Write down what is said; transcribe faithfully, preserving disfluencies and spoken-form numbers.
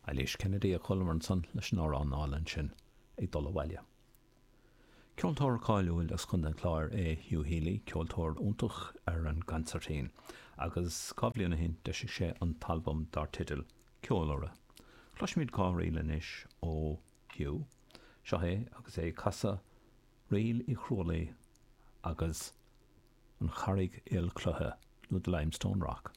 Eilís Kennedy a chualamar ansan leis an amhrán álainn sin ag dul abhaile. Ceoltóir cáiliúil as Contae an Chláir é Hugh Healy, ceoltóir iontach ar an gconsairtín, agus dhá bhliain ó shin d'eisigh sé an t-albam dar teideal Ceolurra. Cloisfimid dhá ríl anois ó Hugh, seo é agus é ag casadh Ríl Uí Chrualaoi agus an Charraig Aolchloiche nó The Limestone Rock.